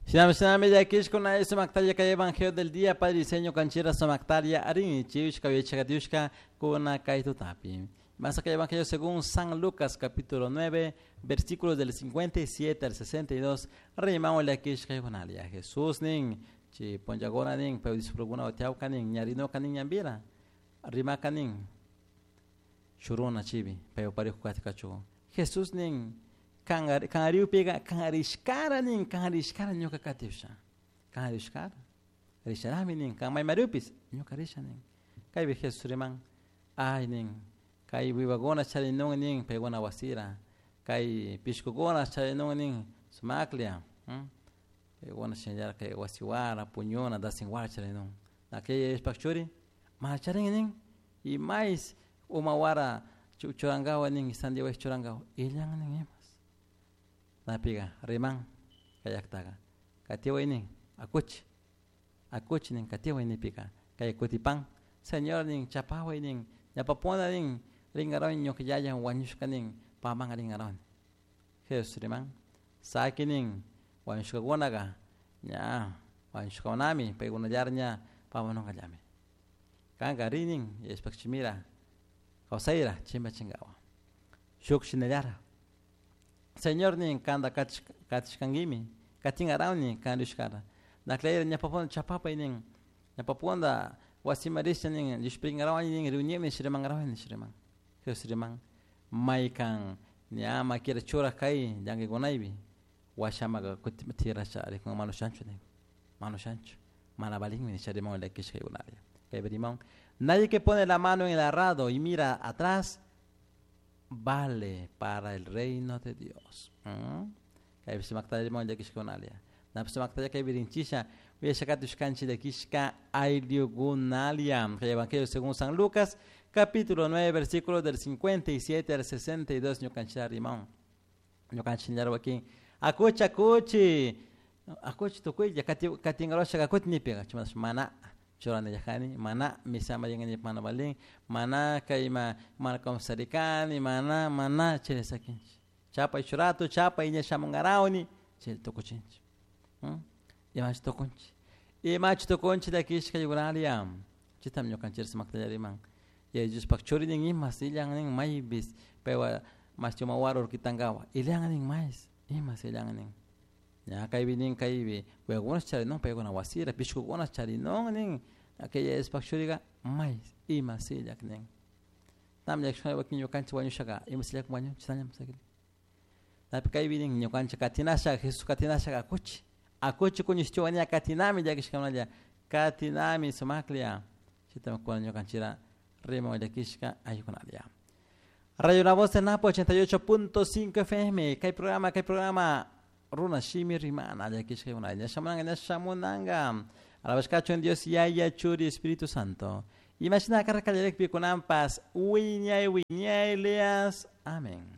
Shinami shinami llakishkuna sumaktalla kay evangelio del día Padre diseño kanchira sumaktaria arin chiushka yachakatiushka kuna kay tutapi. Más acá Evangelio según San Lucas capítulo 9 versículos del 57 al 62 rimamo llakishka yunalia Jesús nin chi ponllagona nin pero discipulokuna utiawka nin ñarinoka nin ñambira rimaka nin shuruna chibi pero parejo katikachu Jesús nin kanariupiga kanarishkara nin kanarishkara ñuka katiusha kanarishkara risharami nin kan maymarupis ñuka risha nin kaypi Jesús riman ay nin kay wiwakuna charinun nin paykuna wasira kay pishkukuna charinun nin sumaklla paykuna shinallara kay wasiwara puñuna dasinwara charinun aquella ishpak churi mana charin nin y mais umawara churankawa nin sandiwa churankawa illan nin imas napiga riman kayaktaga katiway nin akuchi akuchi nin katiway nipika kay kutipan Señor nin chapaway nin ñapapuna nin ringaron ñuka yaya wañushka nin paman ringaron Jesús riman saki nin wañushkakunaga ña wañushkakunami paykunallara ña pamanungallami kanka ri nin yashpak chimira kawsayra chimbachinkawa shuk shinallara Señor nin kanta katishkankimi katinkarawni kan rishkara naklayra ñapapuna chapapay nin ñapapuna wasima risha nin llushpirinkarawani nin riunimi shirimankarawani shiriman Jesús riman maykan ña makira churak kay llankaykunaypi washamaka kutin tirasha rikun mana ushanchu nin mana ushanchu mana valinmi nisha riman llakishkaykunalla kaypi riman nadie que pone la mano en el arado y mira atrás vale para el reino de Dios. Kaypi sumakta riman llakishkakunalla napi sumaktalla kaypi rinchisha uyashakatushkanchik llakishka ayllukunalia. Kay Evangelio según San Lucas capítulo 9 versículos del 57 al 62 ñukanchik riman ñukanchik wakin akuchi akuchi akuchi tukuylla katinkarashaka akuti nipiga chimatash mana churanillajani mana misama rinkanchik mana valin mana kayma mana kawsarikani mana mana chay sakinchik chapay churato chapay ña shamunkarawni chay tukuchinchik imachi tukunchik imachi tukunchik llakishka yukunalia chaytam ñukanchik sumakta riman Yaya Diospuk churi nin imas illan nin maypis paywan mashi umawara urkitankawa illan nin mais imas illan nin ña kaypi nin kaypi wawakuna charinun paykuna wasira pishkukuna charinun nin aquella Diospuk churika mais imas illak nin tam llakishkuna wakin ñukanchik wañushaka imas illak wañunchik chashnallami sakirin napi kaypi nin ñukanchik katinasha Jesús katinashaka akuchi akuchi kuñishchiwa ña katinami llakishkakunalla katinami sumaklla chaytami kuna ñukanchikra riman llakishka ayukunalla. Radio La Voz de Napo 88.5 FM kay programa Runa Shimi Rimana llakishka ayukunalla shamunanga shamunanga alabashkachu Dios Yaya Churi Espíritu Santo imashina karka llarekpi kunanpas wiñay wiñaylias amén.